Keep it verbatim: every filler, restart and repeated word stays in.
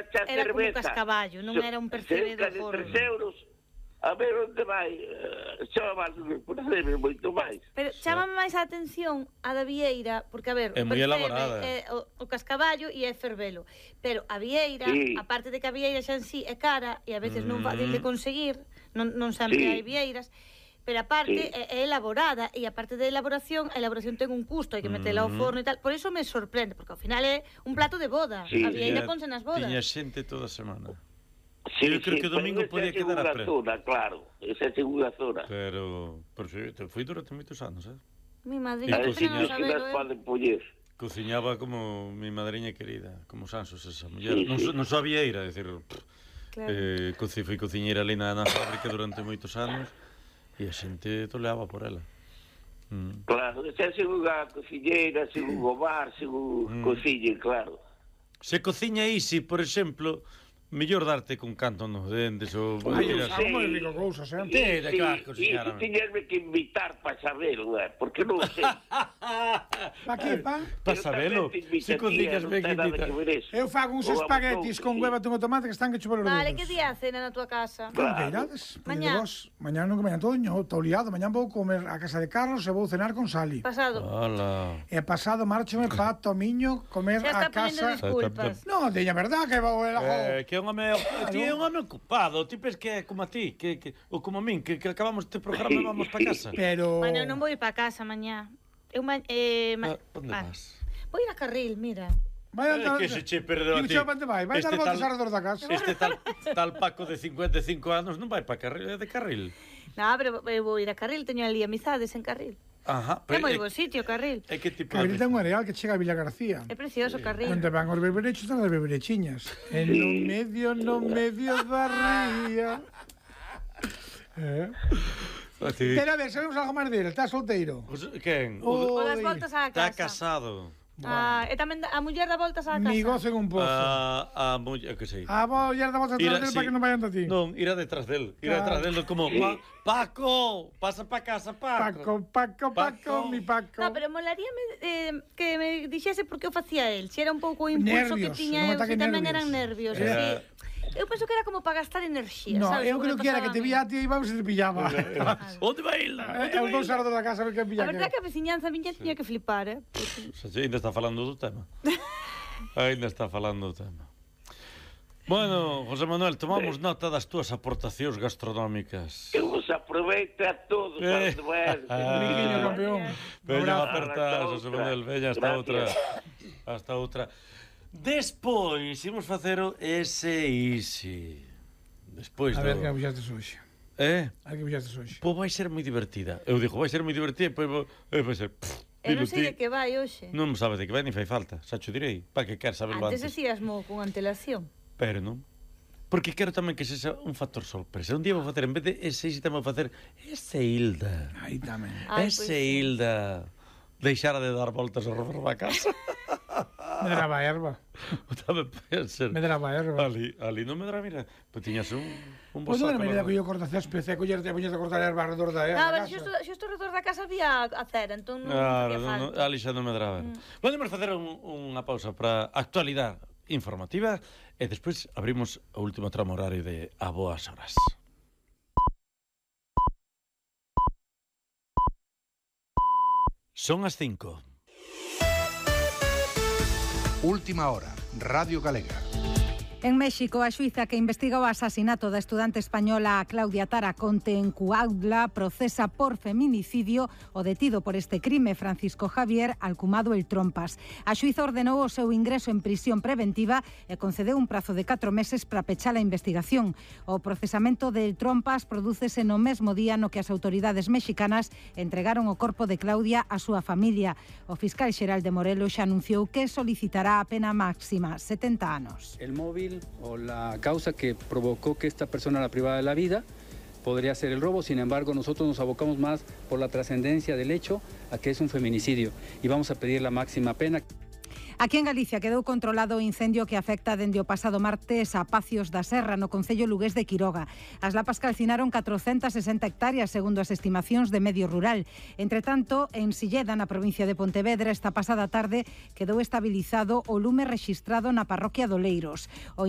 xa cerveza. Era como cascaballo, non era un percebe do forno. Cerca de tres euros, a ver onde vai, xa vai por cerve moito máis. Pero chámame máis a atención a da vieira, porque a ver, é moi elaborada. É o, o cascaballo e é fervelo. Pero a vieira, sí. aparte de que a vieira xa en sí é cara e a veces mm. non fácil de conseguir, non, non sempre sí. hai vieiras, pero aparte sí. é, é elaborada e aparte de elaboración, a elaboración ten un custo, hai que metela ao forno e tal, por iso me sorprende, porque ao final é un plato de boda, sí. a vieira ponse nas bodas. Tiña xente toda a semana. Sí, eu creo sí, que o domingo podía quedar a pre. Zona, claro, esa é a segunda zona. Pero, pero te foi durante moitos anos, eh? Mi madriña, que non sabelo, eh? Poden poñer. Cociñaba como mi madriña querida, como Sansos esa muller. Sí, non, sí. non sabía ir, a decir, claro. eh, coci, foi cociñeira ali na, na fábrica durante moitos anos e a xente toleaba por ela. Mm. Claro, esa é segunda cociñeira, segundo bar, segundo mm. cociñe, claro. Se cociña Isi, por exemplo, mellor darte con canto nos dentes ou... Ai, eu sabe moi rico cousa, sempre. Sí, de claro, cociñar. E tiñerme que invitar para saberlo, eh, porque non sei. Pa que, pa? Pa sabelo. Se cociñas ben que invitar. Eu fago uns espaguetis con hueva e tomate que están que chupar os dedos. Vale, que día a cena na tua casa? Claro. Que irades? Mañá. Mañá non que mañá todo, estou liado. Mañá vou comer a casa de Carlos e vou cenar con Sali. Pasado. Hola. E pasado marchome pa Tomiño comer a casa... Disculpas. Non, diña verdad que vou... Eh, que é un home, ti é un home ocupado, ti pes que é como a ti, que, que, ou como a min, que, que acabamos este programa e vamos para casa. Pero... Bueno, non vou ir para casa mañá. Eu ma... Eh, ma... Ah, onde ah. vas? Vou ir a Carril, mira. Vai eh, que se che perdeu a ti. Digo, vai, vai dar voltas alrededor da casa. Este tal, tal Paco de cincuenta e cinco anos non vai para Carril, é de Carril. Non, pero eu vou ir a Carril, teño ali amizades en Carril. Ajá, é moi bo sitio, Carril. É que tipo Carril ten un areal que chega a Villa García. É precioso, Carril. Onde van os berberechos, están as berberechiñas. En no medio, no medio da ría. Eh? Pero a ver, sabemos algo máis dele, está solteiro. Quen? O, o das voltas á casa. Está casado. Ah, e tamén a muller da voltas á casa. Mi gozo en un pozo. A, a muller, que sei. A muller da voltas atrás del para que non vayan a ti. Non, irá detrás del. Irá detrás del como, pa, Paco, pasa pa casa, Paco. Paco, Paco, Paco, mi Paco. No, pero molaríame eh, que me dixese por que o facía el. Se era un pouco o impulso nervios, que tiña eu, se tamén nervios. eran nervios. Era... Sí. Eu penso que era como para gastar enerxía, no, sabes? eu creo que era que te vía a ti e íbamos e te pillaba. Onde vai ir? É os dous arredor da casa, a ver que pilla. A verdade é que a veciñanza miña tiña que flipar, eh? Porque... Ainda está falando do tema. Ainda está falando do tema. Bueno, José Manuel, tomamos nota das túas aportacións gastronómicas. Que vos aproveite a todos. Eh. Briquiño, campeón. Veña a apertar, José Manuel, veña hasta outra. Hasta outra. Despois, imos facer o ese Easy. Despois do... A ver do... que abuxastes hoxe. Eh? A ver que abuxastes hoxe. Pois vai ser moi divertida. Eu digo, vai ser moi divertida, pois vai ser... Eu non sei de que vai hoxe. Non sabes de que vai, ni fai falta. Xa cho direi, para que quer saberlo antes. Antes decíasmo con antelación. Pero non. Porque quero tamén que sexa un factor sorpresa. Un día vou facer, en vez de ese Easy, tamén vou facer ese Hilda. Aí tamén. Ese pues, Hilda. Deixara de dar voltas ao redor da casa. Medraba erva. Tamén pode ser. Medraba erva. Ali, ali non medraba, mira. Pois tiñas un, un pois non era medida que eu corta césped, e collerte e poñerte a cortar erva alrededor da erva. Ah, pero xusto, xusto alrededor da casa había a cera, entón non claro, facía falta. No, ali xa non medraba. Mm. Podemos facer un, unha pausa para actualidade informativa e despois abrimos o último tramo horario de A Boas Horas. Son as cinco. Última hora, Radio Galega. En México, a xuíza que investiga o asasinato da estudante española Claudia Taraconte en Cuautla procesa por feminicidio o detido por este crime Francisco Javier Alcumado el Trompas. A xuíza ordenou o seu ingreso en prisión preventiva e concedeu un prazo de catro meses para pechar a investigación. O procesamento del Trompas prodúcese no mesmo día no que as autoridades mexicanas entregaron o corpo de Claudia á súa familia. O fiscal xeral de Morelos xa anunciou que solicitará a pena máxima, setenta anos. El móvil o la causa que provocó que esta persona la privara de la vida podría ser el robo, sin embargo nosotros nos abocamos más por la trascendencia del hecho a que es un feminicidio y vamos a pedir la máxima pena. Aquí en Galicia quedou controlado o incendio que afecta dende o pasado martes a Pacios da Serra, no concello lugués de Quiroga. As lapas calcinaron catrocentas sesenta hectáreas, segundo as estimacións de Medio Rural. Entre tanto, en Silleda, na provincia de Pontevedra, esta pasada tarde quedou estabilizado o lume rexistrado na parroquia de Oleiros. O incendio